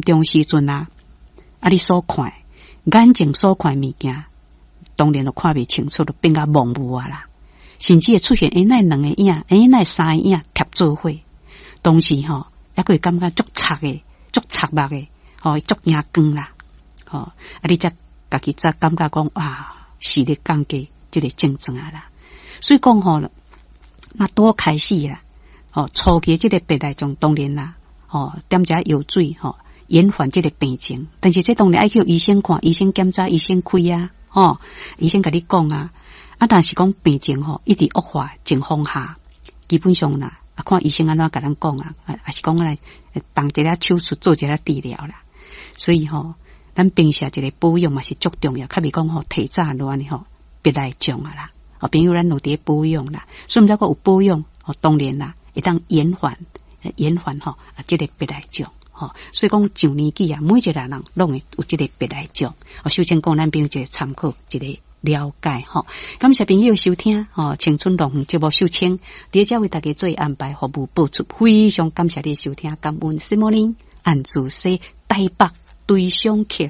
重時陣啊，啊你所看眼睛所看的物件，當然就看袂清楚，就變甲模糊啊啦。甚至會出現欸，哪會兩個影，欸，哪會三個影疊做伙？當時吼，猶閣會感覺足赤的，足赤目的，吼，足驚光啦，吼，啊你才家己才感覺講哇，視力降低這個症狀啊啦。所以講吼，若拄開始啦，吼，初期這個白內障當然啦，吼，點一藥水吼，延緩這個病情。但是這當然愛去醫生看，醫生檢查，醫生開啊，吼，醫生共你講啊。啊，但是講病情吼一直惡化情況下，基本上啦，啊看醫生按怎共咱講啊，啊是講來動一下手術做一下治療啦。所以吼，咱平時一個保養嘛是足重要，較袂講吼提早落按呢吼白內障啊啦。哦，朋友咱有佇咧保養啦，所以毋知講有保養，哦，當然啦，會當延緩延緩吼啊，這個白內障吼。所以講上年紀啊，每一個人攏會有這個白內障。哦，首先講咱朋友一個參考一個了解吼。感謝朋友收聽吼，青春樂園節目秀清，佇遮為大家做安排服務播出，非常感謝你收聽，感恩。什麼呢？按自說台北對象客。